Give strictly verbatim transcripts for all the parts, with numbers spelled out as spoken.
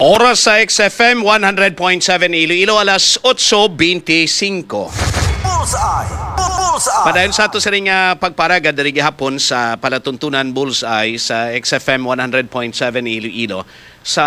Oras sa X F M one hundred point seven Iloilo, alas otso bente singko. Bullseye! Bullseye! Padayon sa ato sining, ah, pagparagad diri gihapon sa palatuntunan Bullseye sa X F M one hundred point seven Iloilo. Sa,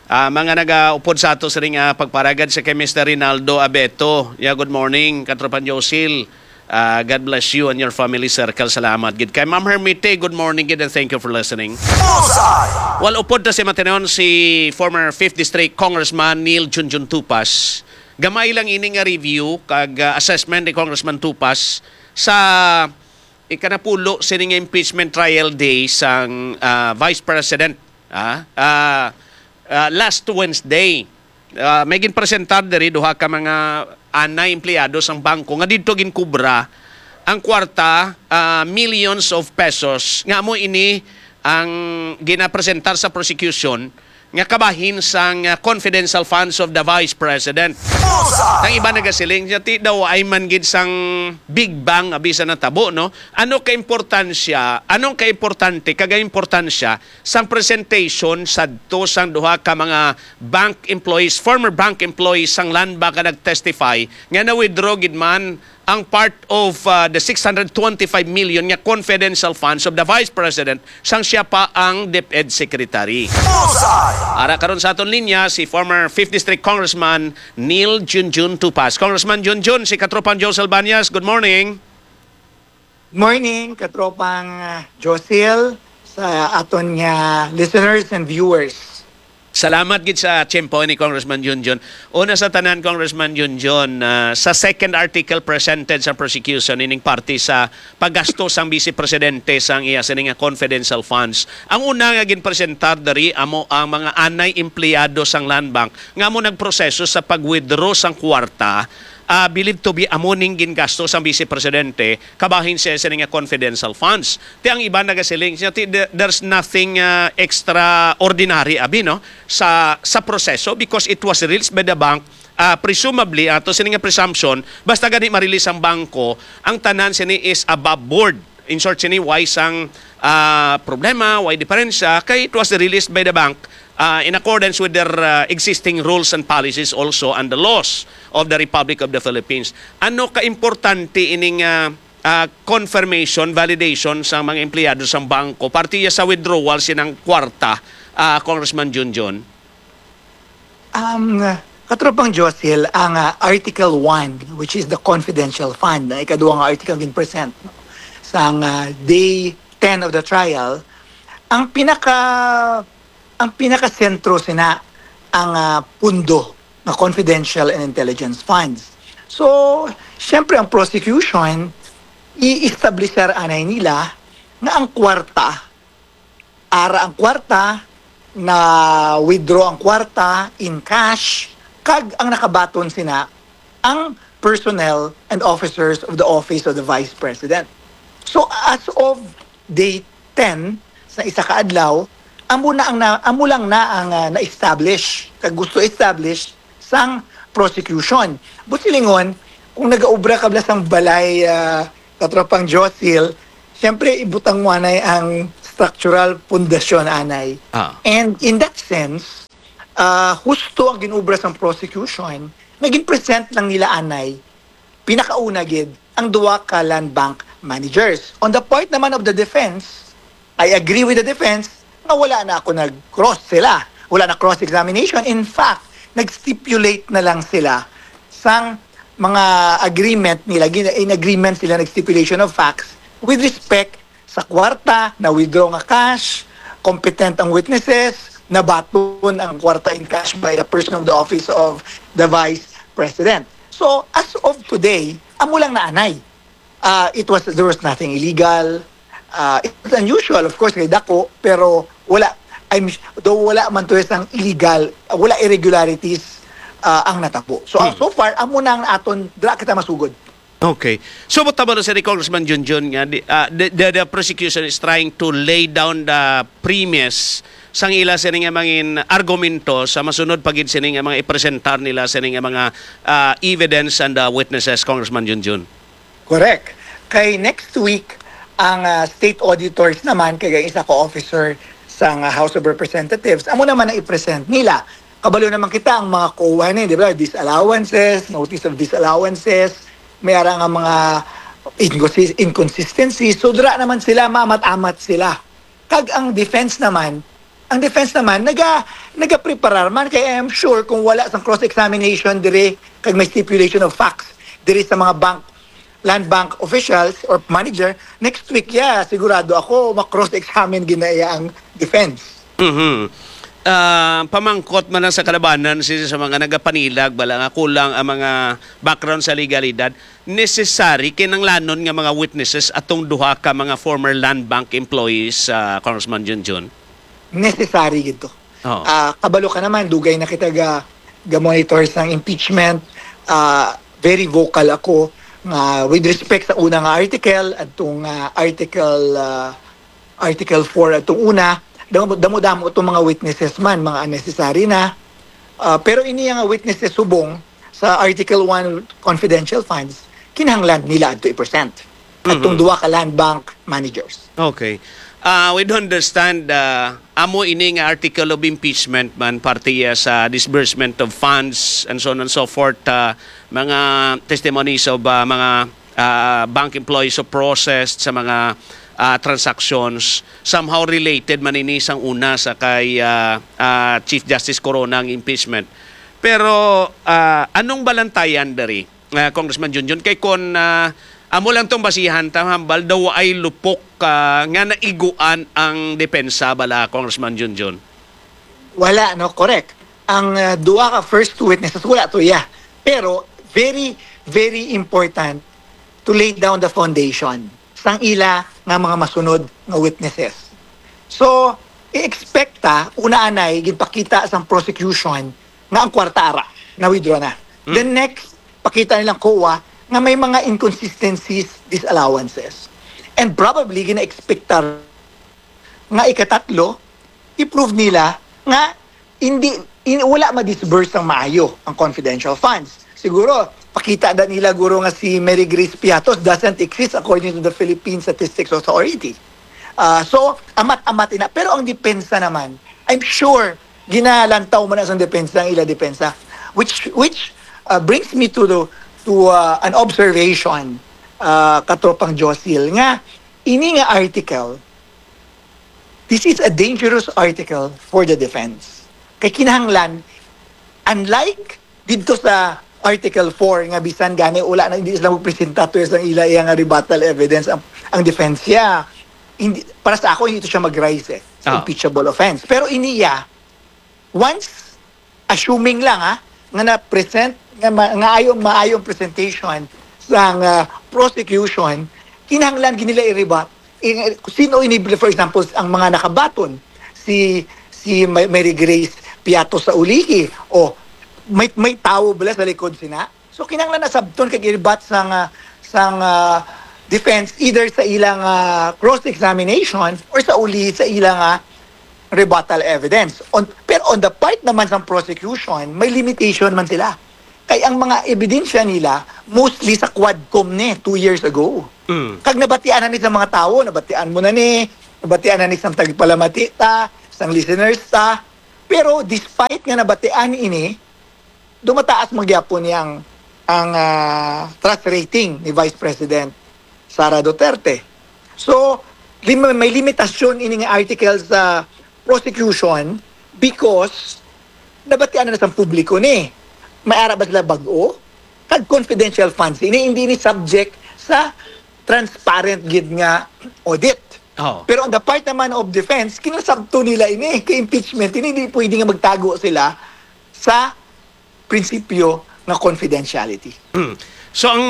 ah, mga nagaupod sa ato sining, ah, pagparagad, si kay Mister Rinaldo Abeto. Yeah, good morning, Katropang Josil. Ah, God bless you and your family circle. Salamat gid kay Ma'am Hermite. Good morning gid and thank you for listening. Bullseye! Well, upod ta si matinon si former fifth District Congressman Neil Junjun Tupas. Gamay lang ini nga review kag, ah, assessment ni Congressman Tupas sa ikanapulo sining impeachment trial day sang, ah, Vice President, ah, ah, ah, last Wednesday. Ah, may ginpresentar diri duha ka mga anay empleyado sang bangko nga didto ginkubra ang kwarta, ah, millions of pesos, nga amo ini ang ginapresentar sa prosecution nga kabahin sang, ah, confidential funds of the Vice President. Bullseye! Ang iba nagasiling, "Ti daw ay man gid sang Big Bang abi sa natabo, no?" Ano ka importansya, anong kaimportante, kag importansya sang presentation sadto sang duha ka mga bank employees, former bank employees sang Land Bank nga nag-testify nga na-withdraw gid man ang part of, uh, the six hundred twenty-five million nga confidential funds of the Vice President sang siya pa ang DepEd Secretary. Bullseye! Ara karon sa aton linya si former fifth District Congressman Neil Junjun Tupas. Congressman Junjun, si Katropang Joe Salbañas, good morning. Morning, Katropang, ah, Josil, sa aton nga listeners and viewers. Salamat gid sa tiyempo ni Congressman Junjun. Una sa tanan, Congressman Junjun, ah, sa second article presented sa prosecution ining parte sa paggasto sang Vice Presidente sang iya sini nga confidential funds. Ang una nga ginpresentar diri amo ang mga anay empleyado sang Land Bank nga amo nagproseso sa pag-withdraw sang kwarta, ah, believed to be amo ning gingasto sang Vice Presidente kabahin siya sini nga confidential funds. Ti ang iban nagasiling siya, ti, there- there's nothing, ah, extraordinary abi, no, sa sa proseso because it was released by the bank. Ah, presumably, ato sini nga presumption, basta gani ma-release ang bangko, ang tanan sini is above board. In short, sini why sang, ah, problema, why diferensya, kay it was released by the bank, ah, in accordance with their, ah, existing rules and policies also and the laws of the Republic of the Philippines. Ano ka importante ining, ah, ah, confirmation, validation sa mga empleyado sa bangko parte ya sa withdrawal sinang kwarta, ah, Congressman Junjun? Um, Katropang Josil, ang, ah, Article one, which is the confidential fund, ang ikaduha nga article gin-present, no, sang, ah, day ten of the trial, ang pinaka ang pinakasentro sina ang, ah, pundo nga confidential and intelligence funds. So, siyempre, ang prosecution, i-establishar anay nila nga ang kwarta, ara ang kwarta, na-withdraw ang kwarta in cash, kag ang nakabaton sina ang personnel and officers of the Office of the Vice President. So, as of day ten, sa isa ka adlaw, amo na ang na, amo lang na ang, ah, na-establish, kag gusto establish sang prosecution. But silingon, kung nagaobra ka bala sang balay, ah, Katropang Josil, siyempre, ibutang mo anay ang structural pundasyon anay. Ah. And in that sense, ah, husto ang ginobra sang prosecution nga gin-present lang nila anay, pinakauna gid, ang duha ka land bank managers. On the part naman of the defense, I agree with the defense nga wala na ako nag-cross sila. Wala na cross-examination. In fact, nag-stipulate na lang sila sang mga agreement nila, gin-, in agreement sila, nag-stipulation of facts with respect sa kwarta, na-withdraw nga cash, competent ang witnesses, nabaton ang kwarta in cash by a person of the office of the Vice President. So, as of today, amo lang na anay. Ah, it was, there was nothing illegal. Ah, it was unusual, of course, kay dako, pero wala, I'm, though wala man to sang illegal, wala irregularities, ah, ang natabo. So, ah, Hmm. so far, amo na ang aton, dira kita masugod. Okay. So, mo tama na si Congressman Junjun nga, di, ah, the, the, the prosecution is trying to lay down the premise sang ila sini nga mangin argumento sa masunod pa gid sini nga mga ipresentar nila sini nga mga, ah, evidence and, ah, witnesses, Congressman Junjun. Correct. Kay next week, ang, ah, state auditors naman, kay ang isa ka officer sang, ah, House of Representatives, amo naman ang i-present nila. Kabalo naman kita ang mga COA ni, di ba? Disallowances, notice of disallowances, may ara nga mga inconsis-, inconsistencies. So, dira naman sila, maamat-amat sila. Kag ang defense naman, ang defense naman, naga-, nagapreparar man. Kay I am sure kung wala sang cross-examination diri, kag may stipulation of facts diri sa mga bank, land bank officials or manager, next week, ya, sigurado ako, ma-cross-examine gid na iya ang defense. Mhm. Ah, pamangkot man lang sa kalabanan, si, sa mga nagapanilag, bala nga kulang ang mga background sa legalidad, necessary, kinahanglanon nga mga witnesses atong duha ka mga former land bank employees, ah, Congressman Junjun? Necessary gid to. Oo. Ah, kabalo ka naman, dugay na kita ga, ga-monitor sang impeachment. Ah, very vocal ako nga with respect sa una nga article, adtong, ah, article, ah, Article four atong una, damo-, damo-damo itong mga witnesses man, mga unnecessary na. Ah, pero ini nga witnesses subong sa Article one confidential funds, kinahanglan nila adto i-present. Adtong Mhm. duha ka land bank managers. Okay. Ah, we do understand, ah, amo ini nga article of impeachment man, parte iya sa disbursement of funds and so on and so forth, ah, mga testimonies of, ah, mga, ah, bank employees of process sa mga, ah, transactions. Somehow related man ini sang una sa kay, ah, ah, Chief Justice Corona ang impeachment. Pero, ah, anong balantayan diri, ah, Congressman Junjun? Kay kon, ah, amo lang tong basihan ta, hambal daw ay lupok, ah, nga naiguan ang depensa bala, Congressman Junjun? Wala, no? Correct. Ang, ah, duha ka first two witnesses, wala to, yeah. Pero very, very important to lay down the foundation sang ila nga mga masunod nga witnesses. So, i-expect ta, una anay, ginpakita sang prosecution nga ang kwarta ara, na-withdraw na. Hmm. The next, pakita nilang COA nga may mga inconsistencies, disallowances. And probably, gina-expect ta nga ikatatlo, i-prove nila nga hindi, in-, wala ma-disburse ang maayo ang confidential funds. Siguro, pakita na nila, guro, nga si Mary Grace Piatos doesn't exist according to the Philippine Statistics Authority. Ah, so, amat-amat ina. Pero ang depensa naman, I'm sure, ginalantaw man na sang depensa ang ila depensa. Which, which, ah, brings me to the, to, ah, an observation, ah, Katropang Josil, nga ini nga article, this is a dangerous article for the defense. Kay kinahanglan, unlike dito sa Article four nga bisan gani wala na, hindi sila magpresenta to sa ila, iya nga rebuttal evidence ang, ang defense siya. Hindi, para sa ako, hindi to siya mag-rise eh, sa Ah. impeachable offense. Pero iniya, once, assuming lang ha, nga na-present, nga ma-, nga ayo, maayong presentation sang, ah, prosecution, kinahanglan gid nila i-rebut. I-, sino ini, for example, ang mga nakabaton? Si, si Ma-, Mary Grace Piato sa Ulihi, o may, may tawo bala sa likod sina? So, kinahanglan na sabton kag i-rebut sang, ah, sang, ah, defense, either sa ilang, ah, cross-examination or sa uli sa ilang, ah, rebuttal evidence. On, pero on the part naman sang prosecution, may limitation man sila. Kay ang mga ebidensya nila, mostly sa Quadcom ni, two years ago. Mm. Kag nabatian na ni sa mga tawo, nabatian mo na ni, nabatian na ni sang tagpalamati ta, sang listeners ta. Pero despite nga nabatian ini, dumataas man gyapon yang, ang, ah, trust rating ni Vice President Sara Duterte. So, lim-, may limitasyon ini nga article sa prosecution because nabatian na sa publiko ni. May ara ba sila bag-o? Kag confidential funds ini, hindi ni subject sa transparent gid nga audit. Oh. Pero on the part naman of defense, kinasabto nila ini kay impeachment. Ini, hindi pwede nga magtago sila sa prinsipyo nga confidentiality. Hmm. So, ang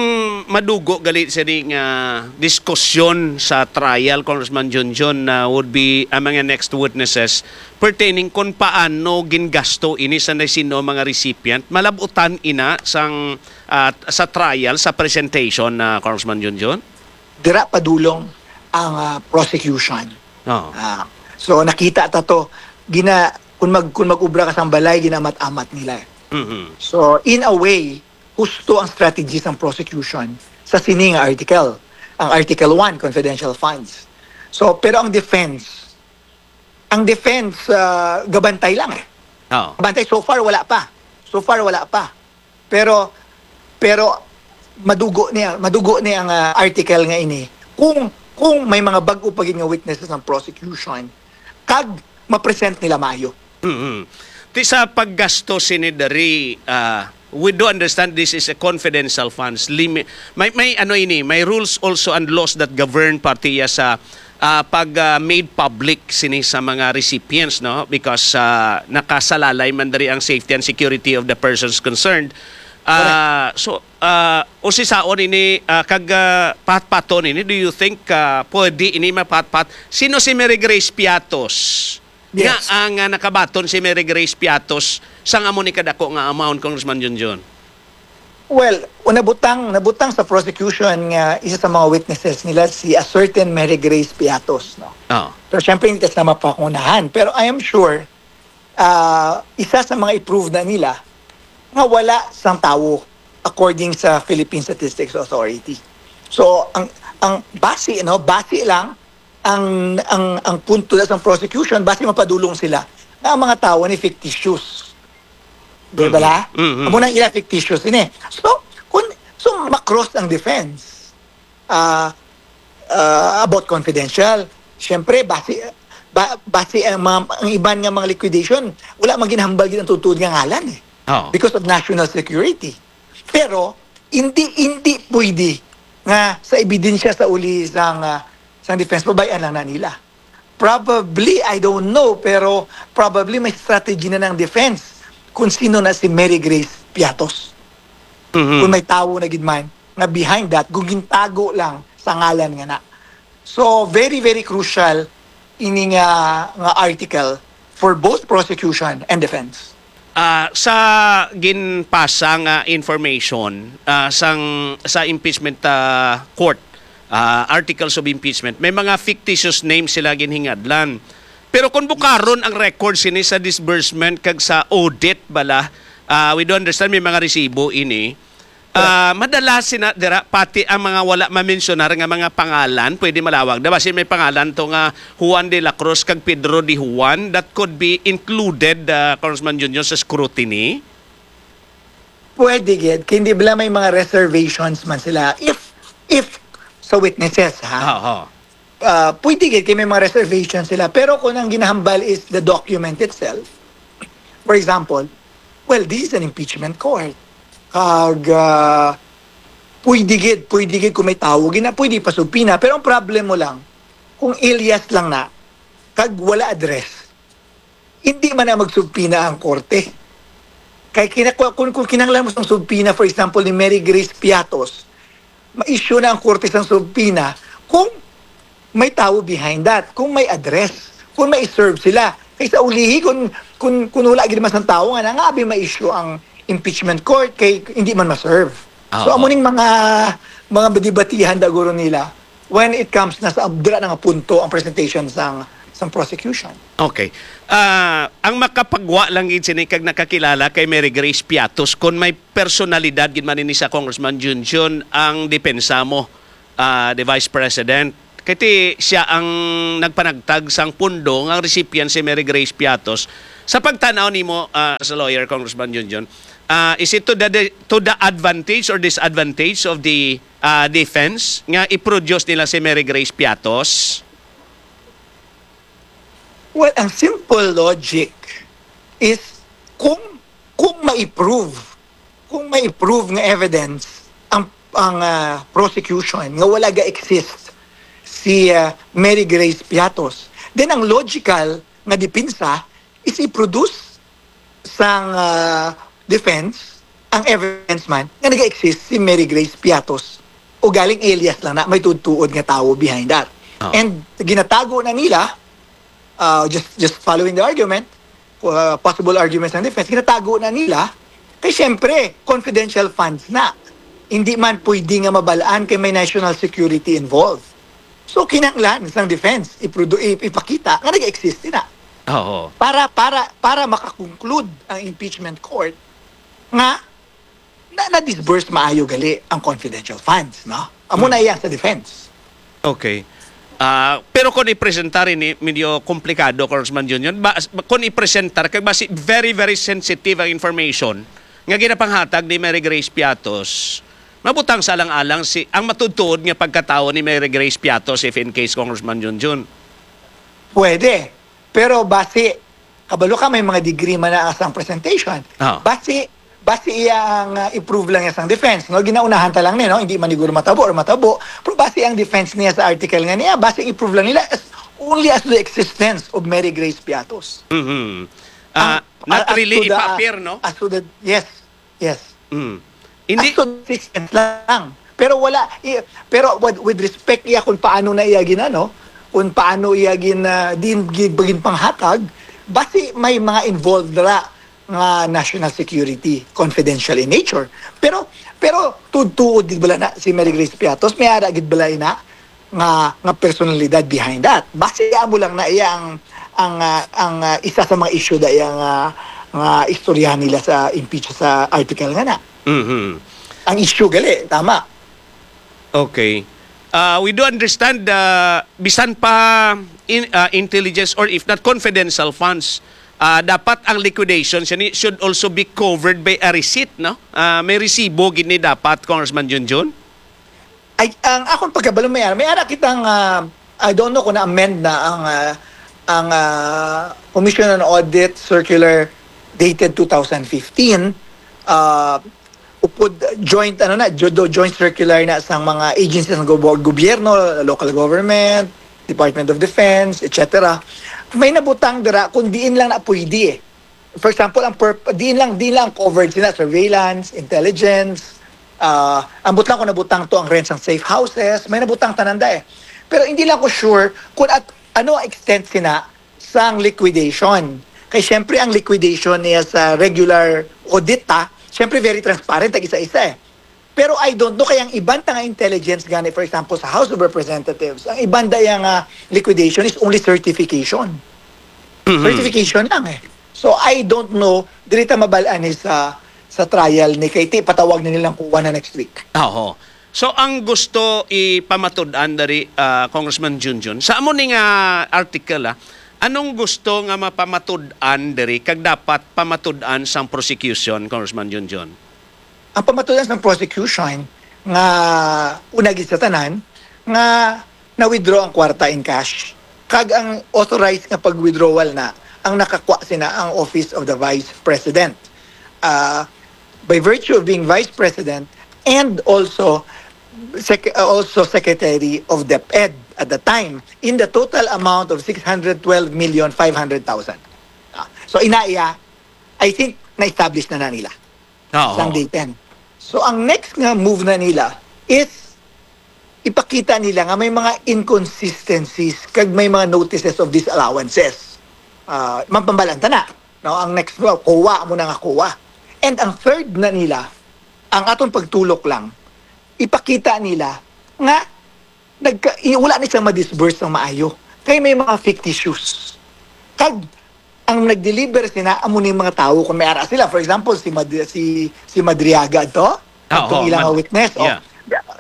madugo gali sini nga diskusyon sa trial, Congressman Junjun, na would be ang mga next witnesses pertaining kung paano gingasto ini sa sino mga recipient, malabutan ina sang, ah, sa trial, sa presentation na, Congressman Junjun? Dira padulong ang, ah, prosecution. Oo. Ah, so, nakita ta to, gina-, kung mag-, kung mag-ubra ka sa balay, ginamat-amat nila. Mhm. So, in a way, husto ang strategy sang prosecution sa sini nga article, ang Article one, confidential funds. So, pero ang defense, Ang defense, ah, gabantay lang eh. Oo. Bantay, so far, wala pa. So far, wala pa. Pero, pero madugo niya, madugo niya ang, ah, article nga ini. Kung, kung may mga bag-o pa gid nga witnesses ang prosecution, kag ma-present nila maayo. Mhm. Ti sa paggasto sini diri, ah, we do understand this is a confidential funds. Limi-, may, may ano ini, may rules also and laws that govern partiya sa, ah, pag, ah, made public sini sa mga recipients, no? Because, ah, nakasalalay man diri ang safety and security of the persons concerned. Ah, so, ah, usisaon ini, ah, kag, ah, patpaton ini, do you think, ah, pwede ini mapatpat? Sino si Mary Grace Piatos? Nga Yes. ang, ah, nakabaton si Mary Grace Piatos sang amo ni kadako nga amount, Congressman Junjun? Well, nabutang, nabutang sa prosecution nga isa sa mga witnesses nila si a certain Mary Grace Piatos, no? Oo. Pero syempre, hindi ta sila mapakungunahan. Pero I am sure, ah, isa sa mga i-prove na nila nga wala sang tawo according sa Philippine Statistics Authority. So, ang, ang base, no, base lang ang, ang, ang punto na sa prosecution, base mapadulong sila na ang mga tawo ni fictitious. Di ba Mhm. la? Mhm. Amo nang ila fictitious ini. So, kung, so, ma-cross ang defense, ah, ah, about confidential. Siyempre, base, ba, base ang mga, ang iban nga mga liquidation, wala man ginhambal gid ang tutuod nga ngalan eh. Oo. Because of national security. Pero, hindi, hindi pwede nga sa ebidensya sa uli sang, ah, sang defense, pabay-an lang na nila. Probably, I don't know, pero probably may strategy na ng defense kung sino na si Mary Grace Piatos. Mhm. Kung may tawo na gid man nga behind that, kung gintago lang sa ngalan nga na. So, very, very crucial ini nga, nga article for both prosecution and defense. Ah, sa ginpasa nga information, ah, sang, sa impeachment, ah, court, ah, articles of impeachment, may mga fictitious names sila ginhingadlan. Pero kung bukaron ang record sini sa disbursement kag sa audit bala, ah, we do understand may mga resibo ini. Ah, madala sina dira pati ang mga wala mamensyonar nga mga pangalan, pwede malawag. Diba, si may pangalan to nga Juan de la Cruz kag Pedro de Juan that could be included, ah, Congressman Junjun, sa scrutiny? Pwede gid, kay hindi bala may mga reservations man sila. If, if sa witnesses, ha? Oo. Ah, pwede gid kay may mga reservations sila. Pero kung ang ginahambal is the document itself, for example, well, this is an impeachment court. Kag, ah, pwede gid, pwede gid kung may tawo, gina, pwede pa subpoena. Pero ang problem mo lang, kung alias lang na, kag wala address, hindi man na magsubpoena ang korte. Kay kina-, kung, kung kinahanglan mo sang subpoena, for example, ni Mary Grace Piatos, ma-issue na ang korte sang subpoena kung may tawo behind that, kung may address, kung may serve sila. Kay sa ulihi, kung, kung, kung wala gid man sang tawo nga na, nga abi ma-issue ang impeachment court kay hindi man ma-serve. So, Oo. amo ning mga, mga debatihan da guro nila when it comes na sa dira na nga punto ang presentation sang, sang prosecution. Okay. Ah, ang makapagwa lang gid sini kag nakakilala kay Mary Grace Piatos, kon may personalidad gid man ini sa Congressman Junjun ang depensa mo, ah, the Vice President. Kay ti siya ang nagpanagtag sang pundo nga recipient si Mary Grace Piatos. Sa pagtanaw nimo, ah, as a lawyer, Congressman Junjun, ah, is it to the, to the advantage or disadvantage of the, ah, defense nga i-produce nila si Mary Grace Piatos? Well, ang simple logic is kung, kung ma-prove, kung ma-prove nga evidence ang, ang, ah, prosecution nga wala ga-exist si, ah, Mary Grace Piatos, then ang logical nga depensa is i-produce sang, ah, defense ang evidence man nga nag-exist si Mary Grace Piatos o galing alias lang na may tuod-tuod nga tawo behind that. Ah. And ginatago na nila, ah, just, just following the argument, uh, possible arguments ng defense, ginatago na nila kay siyempre confidential funds na. Hindi man pwede nga mabalaan kay may national security involved. So, kinahanglan sang defense iprodu-, ip-, ipakita nga nag-exist na. Oo. Para, para, para makakonclude ang impeachment court nga na, na-disburse maayo gali ang confidential funds, no? Amo na Hmm. iya sa defense. Okay. Ah, pero kung i-presentar ini, medyo komplikado, Congressman Junjun. Ba, kung i-presentar, kay basi very, very sensitive ang information nga ginapanghatag ni Mary Grace Piatos, mabutang sa alang-alang si, ang matuod-tuod nga pagkatawo ni Mary Grace Piatos, if in case, Congressman Junjun. Pwede. Pero basi, kabalo ka, may mga degree man na sang presentation. Ah. Basi, basi iya ang uh, i-prove lang niya sang defense, no? Ginaunahan ta lang ni, no? Hindi man siguro matabo or matabo. Pero basi ang defense niya sa article nga niya, basi i-prove lang nila as, only as to the existence of Mary Grace Piatos. Mhm. Ah, Ang- not as really to the- ipa-appear, no? As to the, yes, yes. Mm. Hindi. As to the existence lang. Pero wala, i- pero with, with respect iya kung paano na iya ginano, kung paano iya gin, ah, din, gin, gin panghatag, basi may mga involved ra nga national security, confidential in nature. Pero, pero tuod-tuod gid bala na si Mary Grace Piatos, may ara gid bala ina nga, nga personalidad behind that. Basi amo lang na iya ang, ang, ah, ang, ah, isa sa mga issue da iya nga, nga istoryahan nila sa impeach sa article nga na. Mhm. Ang issue gali, tama. Okay. Uh, we do understand, uh, bisan pa in, uh, intelligence or if not confidential funds, uh, dapat ang liquidation siya ni should also be covered by a receipt, no? Uh, may resibo gid ni dapat, Congressman Junjun? Ay, ang akong pagkabalo, may ara, may ara kitang, ah, I don't know kung na-amend na ang, ah, ang, ah, Commission on Audit Circular dated two thousand fifteen. Ah, upod joint, ano na, jo-, do-, joint circular na sang mga agencies ng gobo-, gobyerno, local government, Department of Defense, et cetera. May nabutang dira kung diin lang na pwede eh. For example, ang perp-, diin lang, diin lang covered sila, surveillance, intelligence, ah, ang butang ko nabutang to ang rent sang safe houses, may nabutang tanan da eh. Pero hindi lang ko sure kung at ano ang extent sina sang liquidation. Kay syempre ang liquidation niya sa regular audit ta, syempre very transparent ang isa-isa eh. Pero I don't know kay ang iban ta nga intelligence gani, for example, sa House of Representatives, ang iban da iya nga liquidation is only certification. Mhm. Certification lang eh. So I don't know, dili ta mabal-an ni sa sa trial ni kay ti patawag na nilang kuha na next week. Oho. So ang gusto ipamatud-an diri, ah, Congressman Junjun, sa amo ni nga article, ah, anong gusto nga mapamatud-an diri kag dapat pamatud-an sang prosecution, Congressman Junjun? Ang pamatud-an sang prosecution nga una gid sa tanan nga na-withdraw ang kwarta in cash kag ang authorized nga pag-withdrawal na ang nakakuha sina ang Office of the Vice President. Ah, by virtue of being Vice President and also sec- uh, also Secretary of DepEd at the time in the total amount of six hundred twelve million five hundred thousand. Ah, so ina iya, I think na-establish na na nila Oo. sang day ten. So ang next nga move na nila is ipakita nila nga may mga inconsistencies kag may mga notices of disallowances. Ah, mapambalan ta na, no? Ang next, well, COA mo na nga COA. And ang third na nila, ang aton pagtulok lang, ipakita nila nga nagka, i- wala ni siya ma-disburse ng maayo. Kay may mga fictitious. Kag ang nag-deliver sina amo ni mga tawo kung may ara sila. For example, si Mad- si si Madriaga to, Ah, atong oo, ilang Mad- witness. Oh. yeah.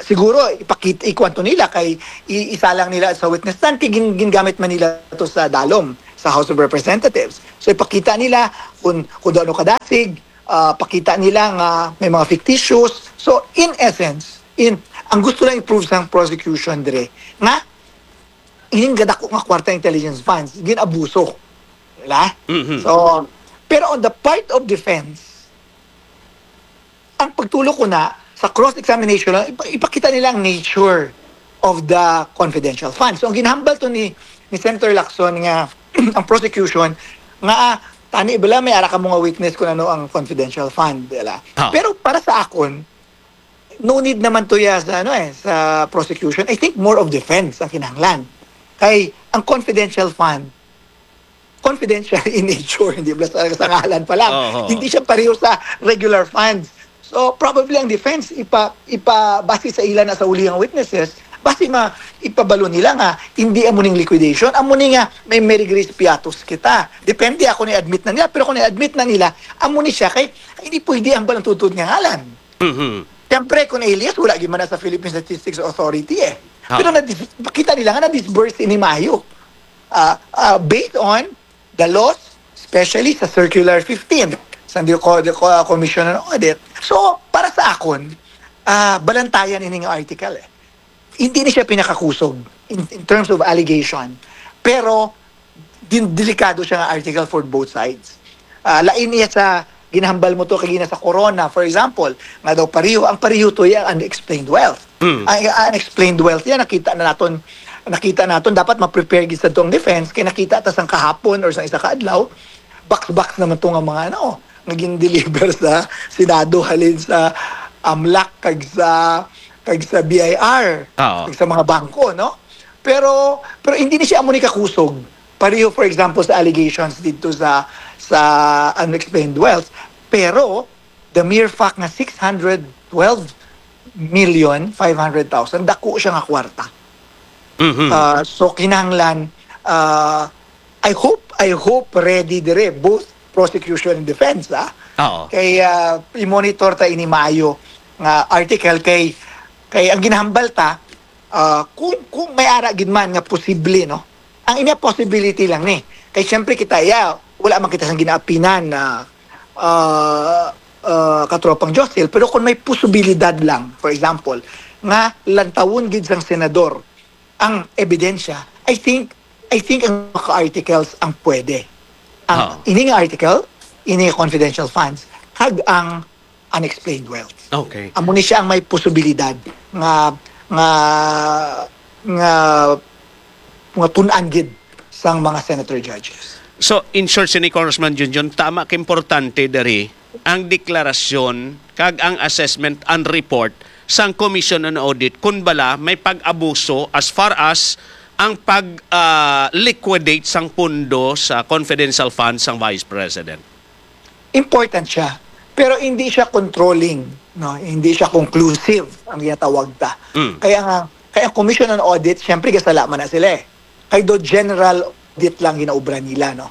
Siguro ipakita, ikuan to nila kay i- isa lang nila sa witness stand kay gin, gingamit man nila to sa dalom sa House of Representatives. So ipakita nila kung kung ano kadasig, ah, pakita nila nga may mga fictitious. So in essence, in ang gusto lang i-prove sang prosecution dire nga ining gadako nga kwarta intelligence funds gin-abuso. Diba? Mhm. So, pero on the part of defense, ang pagtulok ko na sa cross-examination lang, ipa- ipakita nila ang nature of the confidential funds. So, ang ginhambal to ni ni Senator Lacson nga ang prosecution nga ah, tani bala may ara ka mga witness kung ano ang confidential fund, diba? Ah. Pero para sa akon, no need naman to ya sa ano eh, sa prosecution. I think more of defense ang kinahanglan. Kay ang confidential fund, confidential in nature, hindi ba sa, sa ngalan pa lang. Oo. Hindi siya pareho sa regular funds. So probably ang defense ipa ipa base sa ila na sa uli nga witnesses, base ma ipabalo nila nga hindi amo ning liquidation, amo ni nga may Mary Grace Piatos kita. Depende ako ni admit na nila, pero kung admit na nila, amo ni siya kay hindi pwede ang balang tutod nga ngalan. Mhm. Siyempre, kung alias, wala gyud man na sa Philippine Statistics Authority eh. Pero nadis-, makita nila nga na-disburse ini maayo. Ah, ah, based on the laws, especially sa Circular fifteen, sa the Co-, the Co-, Commission on Audit. So, para sa akon, ah, balantayan ini nga article eh. Hindi ni siya pinakakusog in, in terms of allegation. Pero, din, delikado siya nga article for both sides. Ah, lain niya sa ginahambal mo to kagina sa Corona, for example, nga daw pareho, ang pareho to iya unexplained wealth. Mm. Ang, ang unexplained wealth yan, nakita na naton, nakita naton, dapat ma-prepare gid sa to ang defense, kay nakita ta sang kahapon or sa isa ka adlaw, box-box naman to nga mga ano, nga gin-deliver sa Senado halin sa AMLAC kag sa, kag sa B I R, Oo. kag sa mga bangko, no? Pero, pero hindi ni siya amo ni kakusog. Pareho, for example, sa allegations dito sa, sa unexplained wealth. Pero, the mere fact nga six hundred twelve million five hundred thousand, dako siya nga kwarta. Mhm. Ah, so, kinahanglan, ah, I hope, I hope ready dire, both prosecution and defense, ah. Oo. Kay, ah, i-monitor ta ini maayo nga article kay, kay ang ginahambal ta, ah, kung, kung may ara gid man nga posible, no? Ang inya possibility lang ni. Kay siyempre kita, iya, wala man kita sang ginaapinan na, ah, ah, katropang Josil, pero kung may posibilidad lang, for example, nga lantawon gid sang senador ang ebidensya, I think, I think ang mga articles ang pwede. Ang Oo. ini nga article, ini nga confidential funds, kag ang unexplained wealth. Okay. Amo ni siya ang may posibilidad nga, nga, nga, nga tun-an gid sang mga senator judges. So, in short, sini Congressman Junjun, tama ka importante diri ang deklarasyon kag ang assessment and report sang Commission on Audit kun bala may pag-abuso as far as ang pag, ah, liquidate sang pondo sa confidential fund sang Vice President. Important siya, pero hindi siya controlling, no? Hindi siya conclusive ang ginatawag ta. Mm. Kaya nga, kaya ang Commission on Audit, siyempre, gasala man na sila eh. Kay do general audit lang ginaobra nila, no?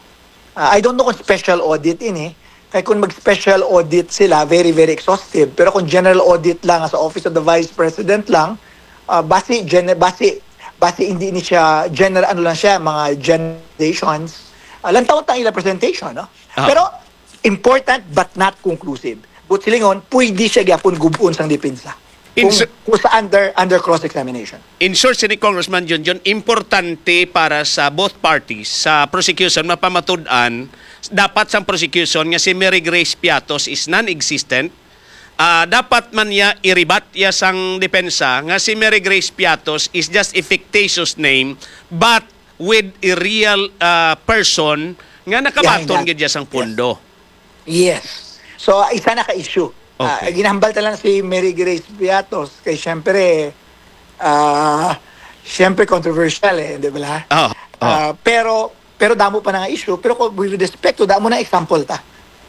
Ah, I don't know kung special audit ini. Kay kung mag-special audit sila, very, very exhaustive. Pero kung general audit lang sa Office of the Vice President lang, ah, basi, gen-, basi, basi hindi ni siya general, ano lang siya, mga generalizations. Ah, lantawon ta ang ila presentation, no? Ah. Pero important but not conclusive. But silingon, pwede siya gyapon gub-on sang depensa. In Kung, su- kung sa under, under cross-examination. In short, sini Congressman Junjun, importante para sa both parties, sa prosecution, mapamatud-an, dapat sang prosecution nga si Mary Grace Piatos is non-existent. Ah, dapat man niya i-rebut ya sang depensa nga si Mary Grace Piatos is just a fictitious name, but with a real, ah, person nga nakabaton Behind that. gid ya sang Yes. pondo. Yes. So, isa na ka issue. Ah, Okay. ginahambal ta lang si Mary Grace Piatos kay siyempre, ah, siyempre controversial eh, di ba? Oh, oh. Ah, pero, pero damo pa na nga issue. Pero kung with respect to, damo na example ta.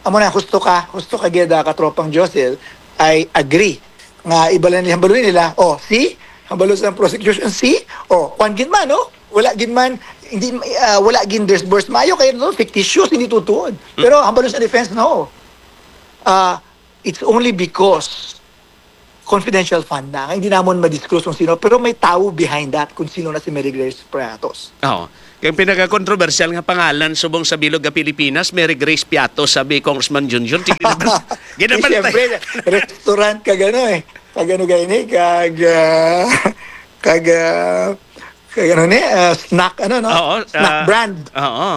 Amo na, husto ka, husto ka gid, ah, katropang Josel, I agree. Nga iba lang nila, hambalon nila, oh, see? Hambalon sa prosecution, see? Oh, kwan gid man, no? Wala gid man, hindi, ah, wala gid disbursed maayo, kaya no, fictitious, hindi totoo. Pero hambalon sa defense, no. Ah, it's only because confidential fund na, nga hindi namon ma-disclose kung sino, pero may tao behind that kung sino na si Mary Grace Pratos. Oo. Kay pinaka-kontrobersyal nga pangalan subong sa bilog nga Pilipinas, Mary Grace Piatos, sabi Congressman Junjun. Ginaban-, Eh, ginabantayan. Siyempre, restaurant kag ano eh. Kag ano gani, kag, ah, kag, ah, kag ano ni, ah, snack, ano, no? Oo, Snack ah, brand. Oo.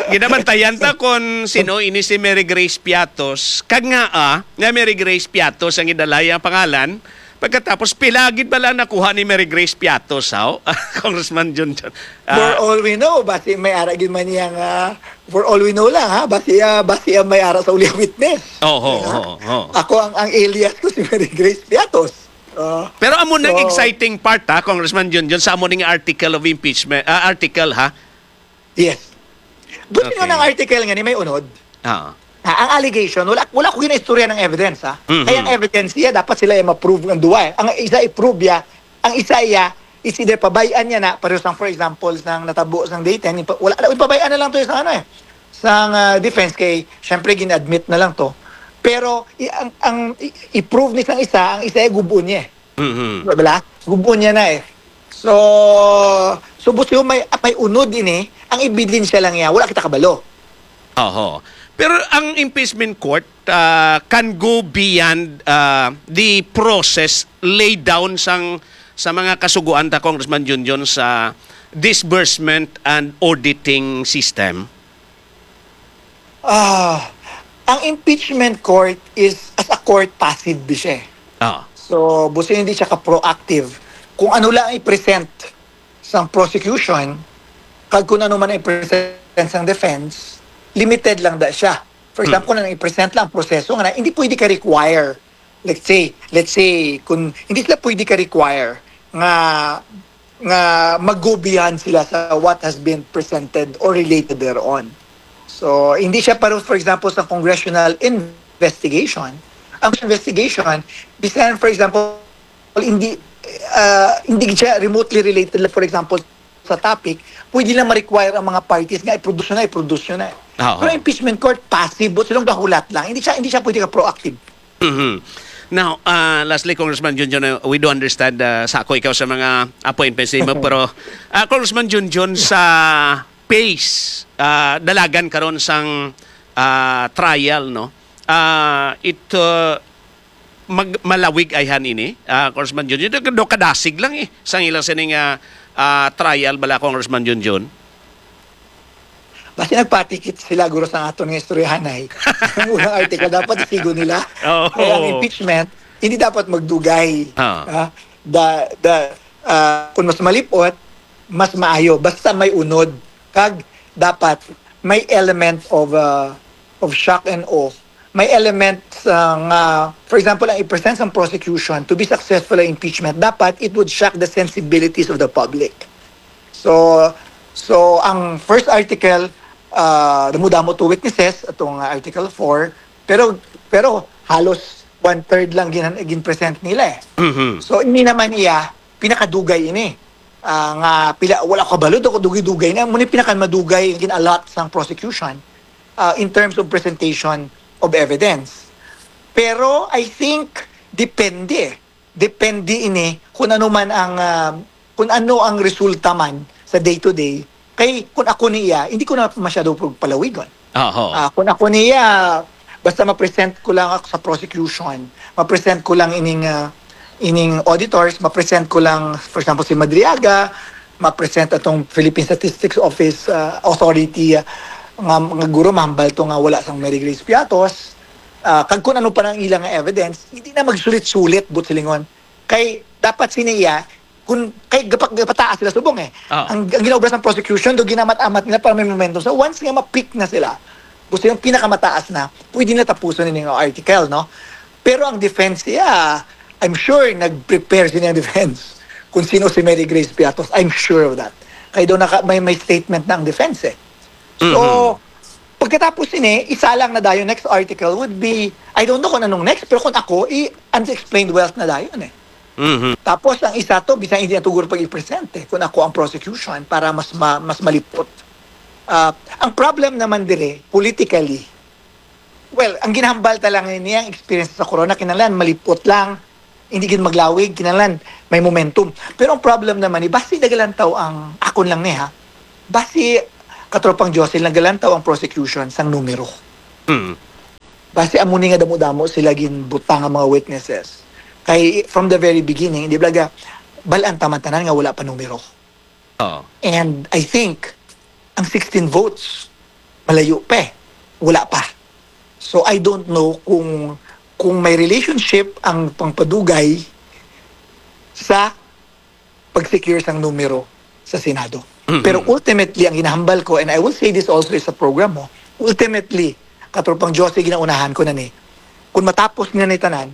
Ginabantayan ta kung sino ini si Mary Grace Piatos. Kag nga, ah, nga Mary Grace Piatos ang idalay ang pangalan. Pagkatapos, pila gid bala nakuha ni Mary Grace Piatos, haw? Congressman Junjun. For Ah, all we know, basi may ara gid man niya nga, for all we know lang, ha? Basi, ah, basi, ah, may ara sa uli witness. Oho, Diba? oho, oho. Ako, ang, ang alias ko si Mary Grace Piatos. Ah, Pero amo nang so, exciting part, ha, Congressman Junjun, sa amo ning article of impeachment, ah, article, ha? Yes. Buti nga Okay. ng article nga ni may unod. Ah. Ah, ang allegation, wala, wala ko ginaistorya ng evidence, ha? Mhm. Kaya ang evidence niya, dapat sila ay ma-prove ang duwa, eh. Ang isa i-prove niya, ang isa iya, is either pabay-an niya na, pareho sang, for example, sang natabo sang day ten, ipa-, wala, wala, pabay-an na lang to sa ano, eh. Sang, ah, defense kay, syempre, gin-admit na lang to. Pero, i-, ang, ang, i-, i-prove ni sang isa, ang isa ay gubon niya, eh. Mhm. Wala? Gubon niya na eh. So, so busi may, may unod ini, ang ebidensya lang niya, wala kita kabalo. Oho. Pero ang impeachment court uh, can go beyond uh, the process laid down sang sa mga kasuguan ta, Congressman Junjun, sa disbursement and auditing system. Ah, ang impeachment court is as a court passive siya. Eh. Ah. So, busi hindi siya ka-proactive. Kung ano lang i-present sa prosecution, kag kung ano man i-present sa defense, limited lang da siya. For example, hmm. Kung i-present lang ang proseso nga na, hindi pwede ka require. Let's say, let's say, kung hindi sila pwede ka require nga nga mag-go beyond sila sa what has been presented or related thereon. So, hindi siya paro, for example, sa congressional investigation. Ang investigation, bisan, for example, hindi uh, hindi siya remotely related, for example, sa topic, pwede lang ma-require ang mga parties nga i-produce na, i-produce na. Oo. Pero impeachment court, passive, silang gahulat lang. Hindi siya, hindi siya pwede ka proactive. Mm-hmm. Now, uh, lastly, Congressman Junjun, uh, we do understand uh, sa ako ikaw sa mga appointments nimo, pero uh, Congressman Junjun, sa pace, uh, dalagan karon sang uh, trial, no? Uh, it uh, mag malawig ayhan ini, uh, Congressman Junjun. Do kadasig lang eh sang ilang sining uh, uh, trial bala, Congressman Junjun. Basi nagpatikit sila guro sa aton nga istoryahanay. Ang unang article dapat isigo nila. Oh. Kaya ang impeachment hindi dapat magdugay. Ah. Uh, the the uh, kung mas malipot, mas maayo basta may unod kag dapat may element of uh, of shock and awe. May element uh, nga, for example, ang i-present sa prosecution to be successful ang impeachment, dapat it would shock the sensibilities of the public. So, so ang first article, uh, damo-damo to witnesses, atong uh, Article four, pero pero halos one-third lang gin, gin-present nila eh. Mm-hmm. So, ini naman iya, pinakadugay ini. Uh, nga pila, wala ko kabalo, dugay-dugay na. Muna pinakamadugay gin-allot sang prosecution uh, in terms of presentation of evidence. Pero I think depende. Depende ini kung ano man ang uh, kung ano ang resulta man sa day to day. Kay kung ako niya, hindi ko na masyado palawigon. Oho. Uh, kung ako niya, basta ma-present ko lang ako sa prosecution, ma-present ko lang ining uh, ining auditors, ma-present ko lang, for example, si Madriaga, ma-present atong Philippine Statistics Office uh, Authority uh, nga, nga guro mahambal to nga wala sang Mary Grace Piatos, uh, kag kung ano pa nang ilang evidence, hindi na magsulit-sulit but silingon. Kay dapat sini iya, kung kay gapataas sila subong eh. Oh. Ang, ang ginaobra sa prosecution do ginamat-amat nila para may momentum. So once nga ma-pick na sila, gusto yung pinakamataas na, pwede na tapuson yung article, no? Pero ang defense, yeah, I'm sure nag-prepare sila ng defense kung sino si Mary Grace Piatos. I'm sure of that. Kaya doon naka, may, may statement na ang defense eh. So, mm-hmm. Pagkatapos ini, isa lang na dayon, next article would be, I don't know kung anong next, pero kung ako, i-unexplained wealth na dayon eh. Mm-hmm. Tapos ang isa to, bisan hindi na to guro pag-i-present eh, kung ako ang prosecution para mas ma- mas malipot. Uh, ang problem naman dire, politically, well, ang ginahambal ta lang niya, ang experience sa corona, kinahanglan malipot lang, hindi gid maglawig, kinahanglan may momentum. Pero ang problem naman ni, basi nagalantaw ang akon lang ni ha. Basi katropang Jocelyn nagalantaw ang prosecution sang numero. Mm. Basi amo ni nga damo-damo sila ginbutang ang mga witnesses. Kay from the very beginning, di ba, bal-an ta man tanan nga wala pa numero. Oh. And I think ang sixteen votes, malayo pa eh. Wala pa. So I don't know kung kung may relationship ang pangpadugay sa pag-secure sang numero sa Senado. Mm-hmm. Pero ultimately, ang ginahambal ko, and I will say this also sa program mo, ultimately, katropang Josie, ginaunahan ko na ni, kung matapos nga ni tanan,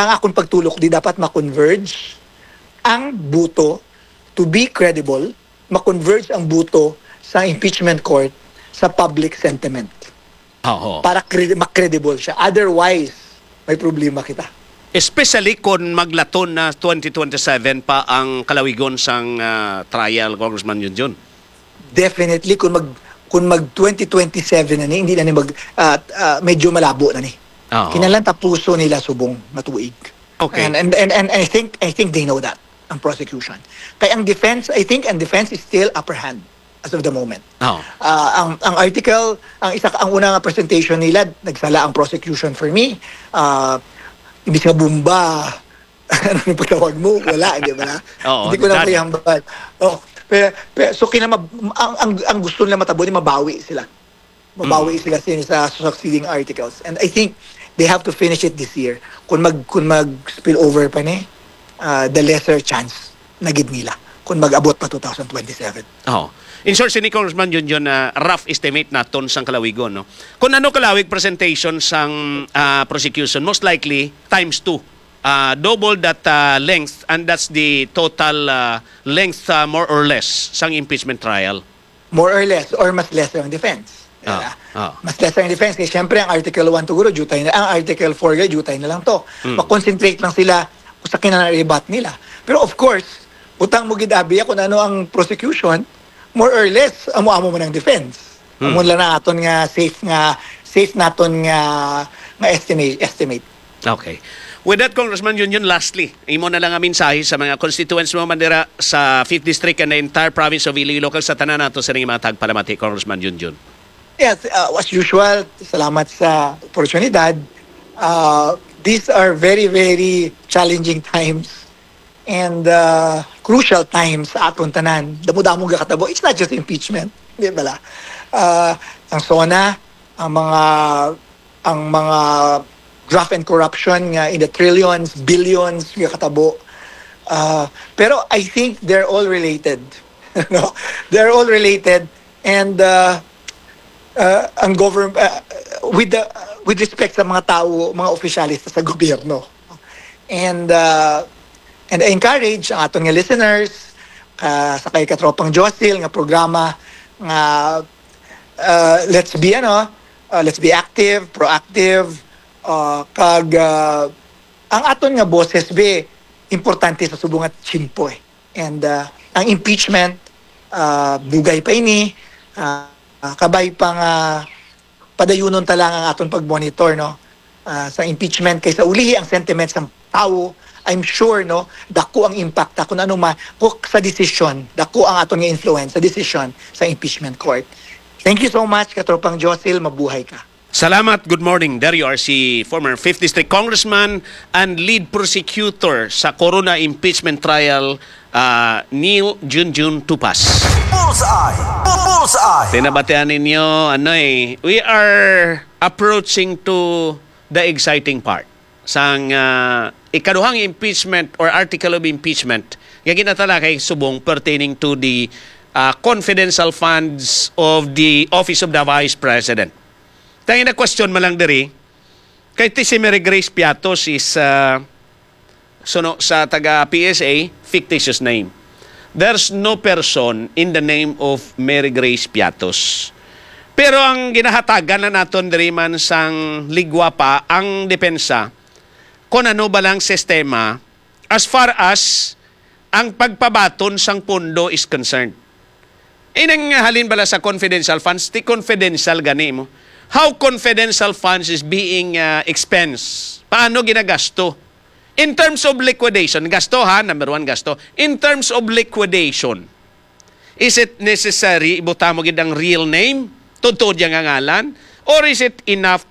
ang akong pagtulok di dapat ma-converge ang buto to be credible, ma-converge ang buto sa impeachment court sa public sentiment. Oo. Para cre- ma-credible siya. Otherwise, may problema kita. Especially kung maglaton na twenty twenty-seven pa ang kalawigon sang uh, trial, Congressman Junjun. Definitely, kung mag kung mag twenty twenty-seven na ni, hindi na ni mag uh, uh, medyo malabo na ni. Oo. Kinahanglan tapuso nila subong nga tuig. Okay. And, and, and, and I think I think they know that, ang prosecution. Kaya ang defense, I think ang defense is still upper hand as of the moment. Oh. Ah, ang ang article, ang isa ang una nga presentation nila, nagsala ang prosecution for me. Ah, imbis nga bomba, ano yung pagtawag mo? Wala, di ba? Oo, Hindi ko na done. Payambal. Oh, pero, pero, so kinamab ang, ang ang gusto nila matabo ni mabawi sila. Mabawi sila sin sa succeeding articles. And I think they have to finish it this year. Kung mag kung mag spill over pa ni, ah, the lesser chance na gid nila kung mag-abot pa two thousand twenty-seven. Oh. In short, sini Congressman Junjun, na rough estimate naton sang kalawigon, no? Kung ano kalawig presentation sang ah, prosecution, most likely times two. Ah, double that ah, length, and that's the total ah, length, ah, more or less, sang impeachment trial. More or less, or mas lesser ang defense. Ah, ah. Mas lesser ang defense kasi syempre ang Article one to guro, jutay na, ang Article four guro, jutay na lang to. Mm. Mag-concentrate lang sila kung sa kinanaribat nila. Pero of course, butang mo gid abiya kung ano ang prosecution, more or less, amo-amo man ang defense. Mm. Amo lang na aton nga safe nga safe naton nga nga estimate estimate. Okay. With that, Congressman Junjun, lastly, imo na lang ang mensahe sa mga constituents mo man dira sa fifth District and the entire province of Iloilo, kag sa tanan nato sa mga tagpalamati, Congressman Junjun. Yes, uh, as usual, salamat sa oportunidad. Uh, these are very, very challenging times and uh, crucial times sa aton tanan. Damo-damo nga katabo. It's not just impeachment, di ba? Uh, ang SONA, ang mga ang mga graft and corruption nga in the trillions, billions nga katabo. Uh, pero I think they're all related. No? They're all related and uh, uh, ang government uh, with the with respect sa mga tao, mga opisyales sa gobyerno. And uh, and I encourage ang aton nga listeners uh, sa kay katropang Josil nga programa nga uh, let's be ano uh, let's be active, proactive uh, kag uh, ang aton nga boses be importante sa subong nga tiyempo eh. And uh, ang impeachment uh, dugay pa ini uh, uh, kabay pa nga padayunon ta lang ang aton pag-monitor no uh, sa impeachment kay sa ulihi ang sentiment sa tao, I'm sure no dako ang impact ta kung ano ma kung sa desisyon, dako ang aton nga influence sa desisyon sa impeachment court. Thank you so much katropang Josil, mabuhay ka. Salamat. Good morning. There you are, si former fifth District Congressman and lead prosecutor sa Corona impeachment trial, ah, Neil Junjun Tupas. Bullseye! Bullseye! Tinabatian ninyo, ano eh, we are approaching to the exciting part. Sang ah, ikaduhang impeachment or article of impeachment nga ginatalakay subong pertaining to the ah, confidential funds of the Office of the Vice President. Tangina question man lang diri, kay ti si Mary Grace Piatos is ah, suno sa taga P S A, fictitious name. There's no person in the name of Mary Grace Piatos. Pero ang ginahatagan na naton diri man sang ligwa pa ang depensa kung ano ba lang sistema as far as ang pagpabaton sang pondo is concerned. Inang halin bala sa confidential funds, ti confidential gani mo. How confidential funds is being uh, expense? Paano ginagasto? In terms of liquidation, gasto ha, number one, gasto. In terms of liquidation, is it necessary ibutang mo gid ang real name? Tuod-tuod yang ngalan? Or is it enough